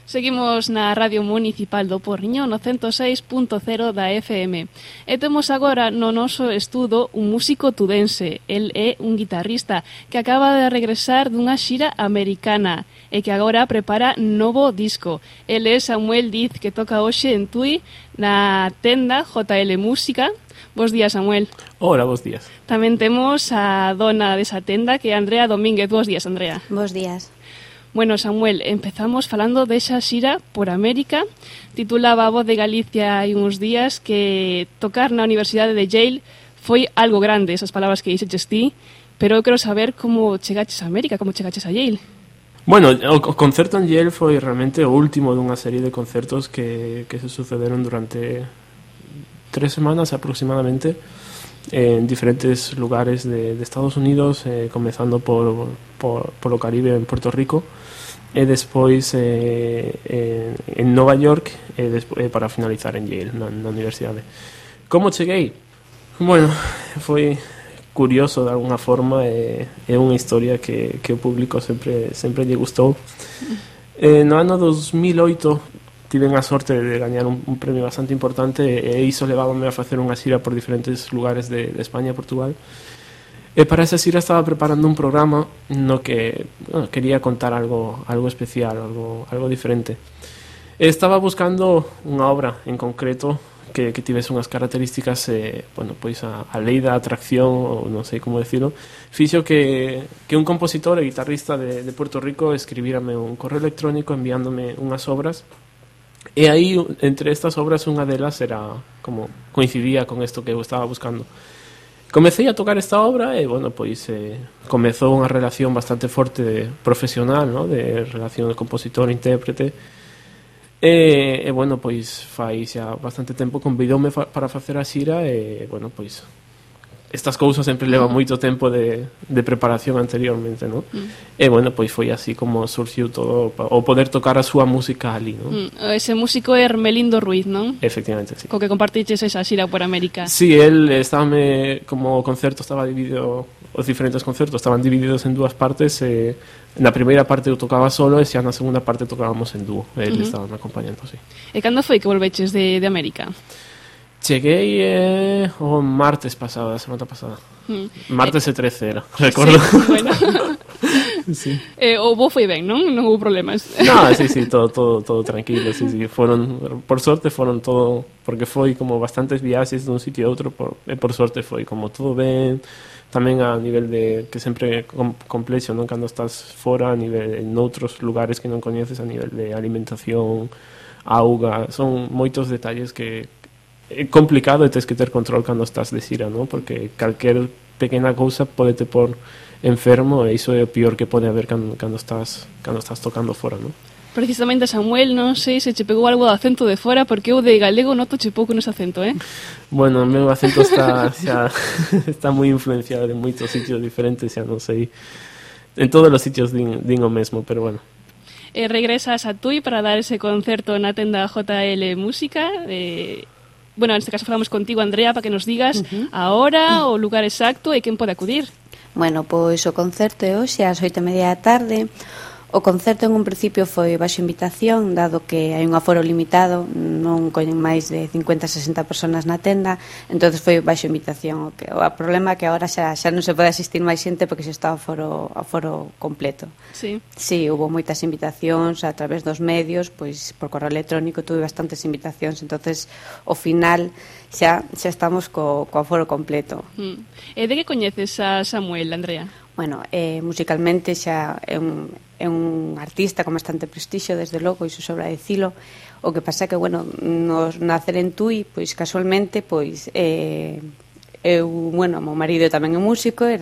Seguimos na Radio Municipal do Porriño no 106.0 da FM. E temos agora no noso estudo un músico tudense. El é un guitarrista que acaba de regresar dunha xira americana e que agora prepara novo disco. El é Samuel Diz, que toca hoxe en Tui na tenda JL Música. Bos días, Samuel. Hola, bos días. Tamén temos a dona desa tenda, que é Andrea Domínguez. Bos días, Andrea. Bos días. Bueno, Samuel, empezamos falando desa xira por América. Titulaba a Voz de Galicia hai uns días que tocar na Universidade de Yale foi algo grande, esas palabras que dixeches ti, pero eu quero saber como chegaches a América, como chegaches a Yale. Bueno, o concerto en Yale foi realmente o último dunha serie de concertos que se sucederon durante 3 semanas aproximadamente en diferentes lugares de Estados Unidos, comezando por o Caribe en Puerto Rico e despois en Nova York e para finalizar en Yale, na universidade. Como cheguei? Bueno, foi curioso de alguna forma, é unha historia que o público sempre lle gustou. No ano 2008 tiven a sorte de gañar un premio bastante importante e iso levábame a facer unha xira por diferentes lugares de España e Portugal. E para esa xira estaba preparando un programa no que quería contar algo especial, algo diferente. E estaba buscando unha obra en concreto que tivese unhas características, pois a lei da atracción, ou non sei como decirlo, fixo que un compositor e guitarrista de Puerto Rico escribírame un correo electrónico enviándome unhas obras. E aí, entre estas obras, unha delas era como coincidía con isto que eu estaba buscando. Comecei a tocar esta obra e, bueno, pois comezou unha relación bastante forte profesional, ¿no? De relación de compositor-intérprete. E, bueno, pois fai xa bastante tempo convidoume para facer a xira e, bueno, pois estas cousas sempre levan moito tempo de preparación anteriormente, ¿no? E, bueno, pois foi así como surxiu todo o poder tocar a súa música ali, ¿no? Ese músico é Hermelindo Ruiz, non? Efectivamente, sí. Co que compartiches esa xira por América. Sí, él como o concerto estaba dividido, os diferentes concertos estaban divididos en dúas partes, na primeira parte eu tocaba solo e xa na segunda parte tocábamos en dúo, él estaba me acompañando, sí. E cando foi que volveches de América? Cheguei o martes pasado, a semana pasada. Martes e 13 era, recordo. Sí, bueno. Sí. O voo foi ben, non? Non houve problemas. No, sí, todo tranquilo, sí. Por sorte foron todo, porque foi como bastantes viaxes dun sitio a outro, por sorte foi como todo ben, tamén a nivel de, que sempre é complexo, non? Cando estás fora, a nivel en outros lugares que non coñeces, a nivel de alimentación, auga, son moitos detalles que é complicado e tens que ter control cando estás de xira, non? Porque calquer pequena cousa podete por enfermo e iso é o pior que pode haber cando estás tocando fora, non? Precisamente, Samuel, non sei se che pegou algo de acento de fora, porque eu de galego noto che pouco nese acento, Bueno, o meu acento está moi influenciado en moitos sitios diferentes, xa non sei. En todos os sitios din o mesmo, pero bueno. Regresas a Tui para dar ese concerto na tenda JL Música. Bueno, neste caso falamos contigo, Andrea, para que nos digas a hora, o lugar exacto e quen pode acudir. Bueno, pois o concerto é hoxe ás 8:30 da tarde. O concerto en un principio foi baixo invitación, dado que hai un aforo limitado, non coñen máis de 50-60 personas na tenda, entonces foi baixo invitación. O problema é que agora xa non se pode asistir máis xente porque xa está o aforo completo. Sí. Sí, hubo moitas invitacións a través dos medios, pois por correo electrónico tuve bastantes invitacións, entonces ao final xa estamos co aforo completo. E de que coñeces a Samuel, Andrea? Bueno, musicalmente xa é un artista con bastante prestixio, desde logo, iso sobra dicilo. O que pasa que, bueno, nos nacer en Tui, pois casualmente, pois eu, bueno, meu marido tamén é músico e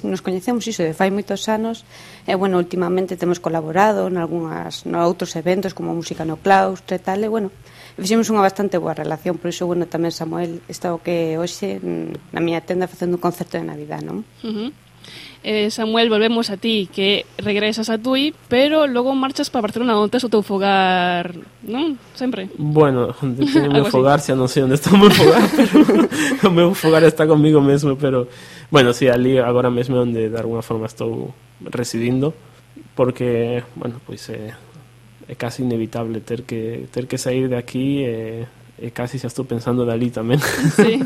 nos coñecemos iso de fai moitos anos e, bueno, últimamente temos colaborado noutros eventos como Música no Claustro e tal, e, bueno, fixemos unha bastante boa relación, por iso, bueno, tamén Samuel está o que hoxe na miña tenda facendo un concerto de Navidad, non? Samuel, volvemos a ti, que regresas a Tui, pero logo marchas para Barcelona, onde tes o teu fogar, non? Sempre. Bueno, onde teño o meu fogar, xa non sei onde está o meu fogar, pero o meu fogar está comigo mesmo, pero, bueno, sí, ali agora mesmo é onde de alguna forma estou residindo, porque, bueno, pois casi inevitable ter que sair de aquí, casi xa estou pensando de ali tamén. Sí.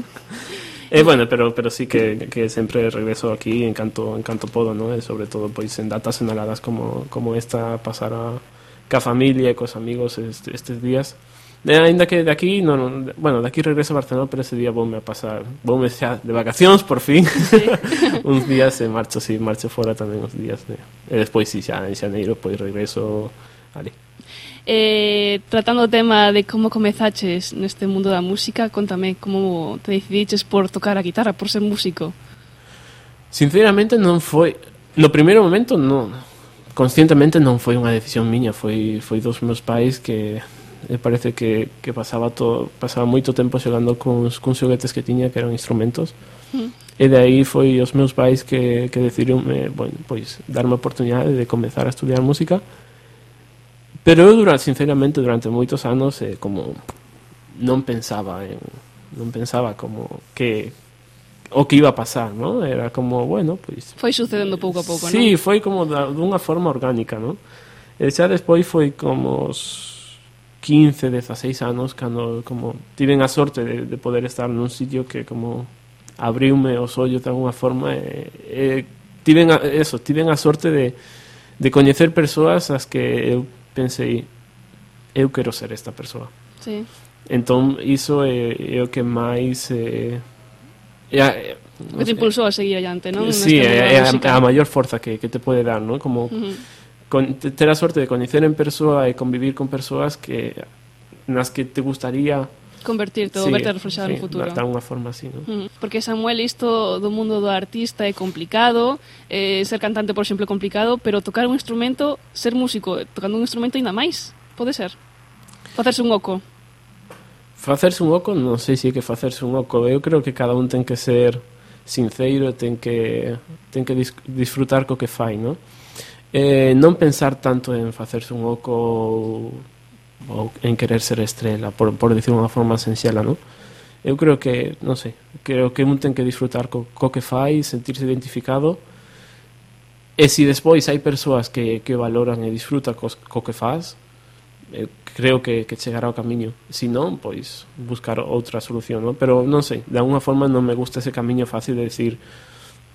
Bueno, pero sí que sempre regreso aquí en canto podo, ¿no? E sobre todo pois en datas senaladas como esta, pasar ca familia e cos amigos estes días. Ainda que de aquí, bueno, de aquí regreso a Barcelona, pero ese día voume xa de vacacións, por fin. Sí. Uns días marcho fora tamén uns días. E despois, xa en xaneiro, pois regreso ali. Tratando o tema de como comezaches neste mundo da música, contame como te decidiches por tocar a guitarra, por ser músico. Sinceramente non foi, no primeiro momento non, conscientemente non foi unha decisión miña, foi dos meus pais que parece que pasaba moito tempo xogando cuns xoguetes que tiña que eran instrumentos. E de aí foi os meus pais que decidiron pois darme a oportunidade de comezar a estudiar música. Pero eu, sinceramente, durante moitos anos como non pensaba como que o que iba a pasar, ¿no? Era como, bueno, pois... Foi sucedendo pouco a pouco, sí, non? foi como dunha forma orgánica, ¿no? E xa despois foi como os 15, 16 anos cando como tiven a sorte de poder estar nun sitio que como abriume os ollos de alguna forma tiven a sorte de coñecer persoas as que eu pensei, eu quero ser esta persoa. Sí. Entón, iso é o que máis o que te impulsou a seguir adiante, non? Sí, é a maior forza que te pode dar, non? Como ter a sorte de coñecer en persoa e convivir con persoas nas que te gustaría convertirte ou verte reflexado no futuro. De alguna forma así, ¿no? Porque, Samuel, isto do mundo do artista é complicado, ser cantante, por exemplo, é complicado, pero tocar un instrumento, ser músico tocando un instrumento ainda máis, pode ser? Facerse un oco. Facerse un oco, non sei se é que facerse un oco. Eu creo que cada un ten que ser sinceiro, ten que disfrutar co que fai, ¿no? Non pensar tanto en facerse un oco ou en querer ser estrela, por decir unha forma senxela, non? Eu creo que, non sei, creo que un ten que disfrutar co que fai, sentirse identificado, e se despois hai persoas que valoran e disfrutan co que faz, creo que chegará ao camiño. Se non, pois buscar outra solución, non? Pero non sei, de alguna forma non me gusta ese camiño fácil de decir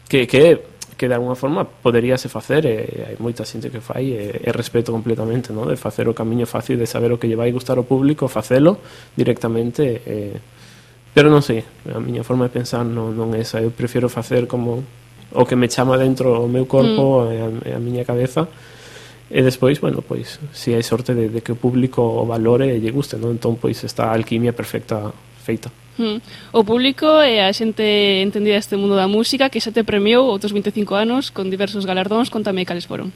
que de alguna forma poderíase facer, e hai moita xente que fai, e respeto completamente, ¿no? De facer o camiño fácil de saber o que lle vai gustar ao público, facelo directamente, pero non sei, a miña forma de pensar non é esa. Eu prefiro facer como o que me chama dentro o meu corpo e a miña cabeza, e despois, bueno, pois se hai sorte de que o público o valore e lle guste, non? Entón, pois está a alquimia perfecta feita. O público e a xente entendida este mundo da música que xa te premiou outros 25 anos con diversos galardóns, contame cales foron.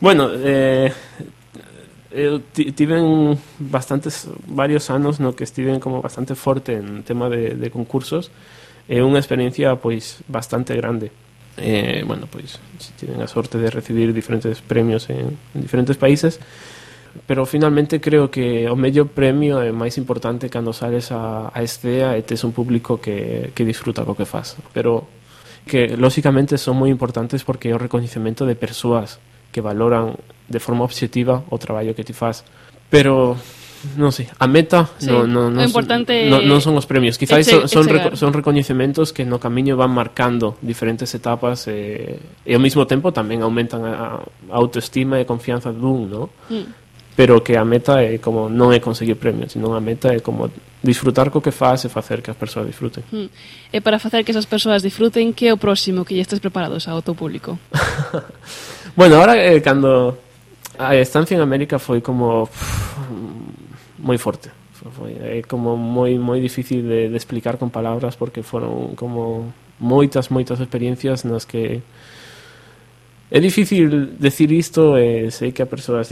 Bueno, eu tiven varios anos no que estiven como bastante forte en tema de concursos, e unha experiencia pois bastante grande. Bueno, pois tiven a sorte de recibir diferentes premios en diferentes países, pero finalmente creo que o mellor premio é máis importante cando sales a escena e tes un público que disfruta co que faz, pero que lóxicamente son moi importantes porque é o recoñecemento de persoas que valoran de forma obxectiva o traballo que ti faz, pero non sei, a meta non son os premios, quizás son recoñecementos que no camiño van marcando diferentes etapas, e ao mesmo tempo tamén aumentan a autoestima e confianza dun, ¿no? Pero que a meta é como non é conseguir premios, sino a meta é como disfrutar co que faz e facer que as persoas disfruten. E para facer que esas persoas disfruten, que é o próximo que lle estes preparados ao teu público? Bueno, ahora cando a estancia en América foi como moi forte, foi como moi difícil de explicar con palabras, porque foron como moitas experiencias nas que é difícil decir isto, e sei que a persoa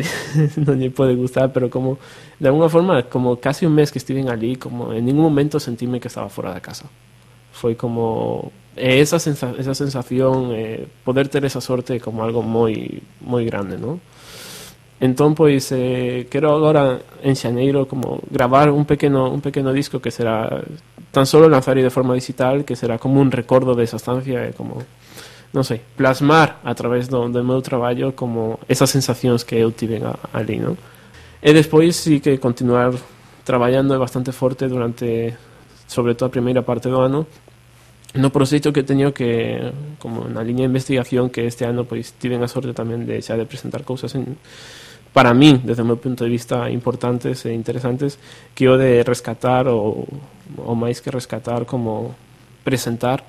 non lle pode gustar, pero como de alguna forma, como casi un mes que estiven ali, como en ningún momento sentíme que estaba fora da casa. Foi como esa sensación, poder ter esa sorte como algo moi grande, ¿no? Entón, pois, quero agora en xaneiro como gravar un pequeno disco que será tan solo lanzar de forma digital, que será como un recordo desa estancia, como non sei, plasmar a través do meu traballo como esas sensacións que eu tiven ali, non? E despois sí que continuar traballando bastante forte durante, sobre todo a primeira parte do ano, no proxecto que teño que, como na liña de investigación, que este ano pois tiven a sorte tamén de xa de presentar cousas para min, desde o meu punto de vista, importantes e interesantes, que o de rescatar ou máis que rescatar, como presentar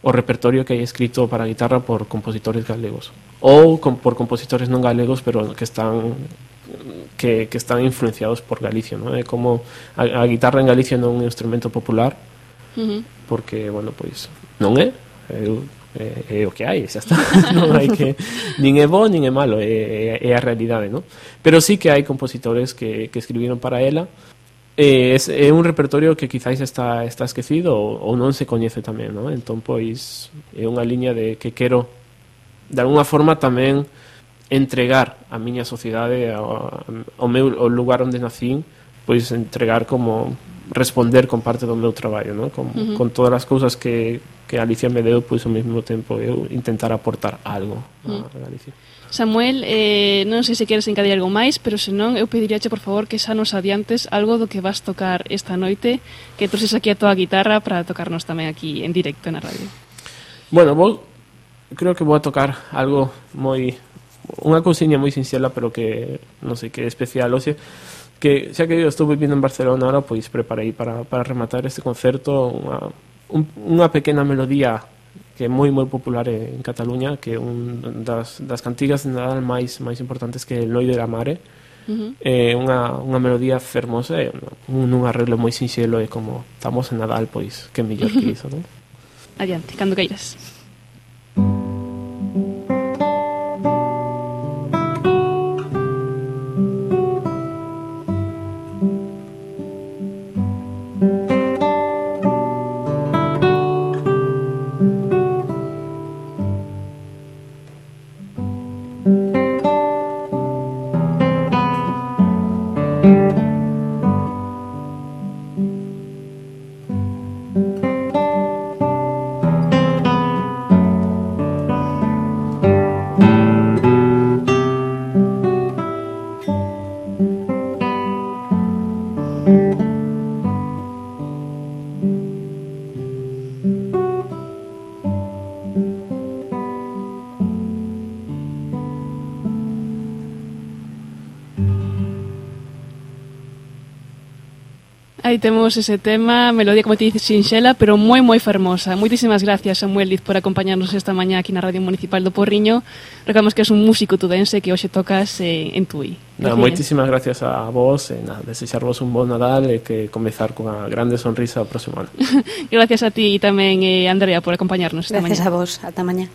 o repertorio que hai escrito para a guitarra por compositores galegos ou por compositores non galegos, pero que están influenciados por Galicia, ¿no? Como a guitarra en Galicia non é un instrumento popular, porque, bueno, pois non é o que hai, xa está. Non hai que, nin é bo nin é malo, é a realidade, ¿no? Pero sí que hai compositores que escribiron para ela. É un repertorio que quizáis está esquecido ou non se coñece tamén, ¿no? Entón, pois, é unha liña de que quero de alguna forma tamén entregar a miña sociedade, ao lugar onde nacín, pois entregar como responder con parte do meu traballo, ¿no? Con todas as cousas que Galicia me deu, pois ao mesmo tempo eu intentar aportar algo a Galicia. Samuel, non sei se queres encadir algo máis, pero senón eu pediríache por favor que xa nos adiantes algo do que vas tocar esta noite, que trouxes aquí a tua guitarra para tocarnos tamén aquí en directo na radio. Bueno, creo que vou a tocar algo unha cousiña moi sinxela, pero que non sei, que é especial, o sea, que xa que eu estou vivindo en Barcelona ahora, pois preparei para rematar este concerto unha pequena melodía que é moi popular en Cataluña, que é das cantigas de Nadal máis importantes, que é el Noi de la Mare. É unha melodía fermosa, un arreglo moi sinxelo, e como estamos en Nadal, pois que mellor que iso, non? Adiante, cando queiras. Aí temos ese tema, melodía, como te dices, sinxela, pero moi fermosa. Moitísimas gracias, Samuel Diz, por acompañarnos esta mañá aquí na Radio Municipal do Porriño. Recordamos que és un músico tudense que hoxe tocas en Tui. Moitísimas gracias a vos, desexarvos un bon Nadal e que comezar cunha grande sonrisa o próximo ano. Gracias a ti e tamén, Andrea, por acompañarnos esta mañá. Gracias a vos, ata mañá.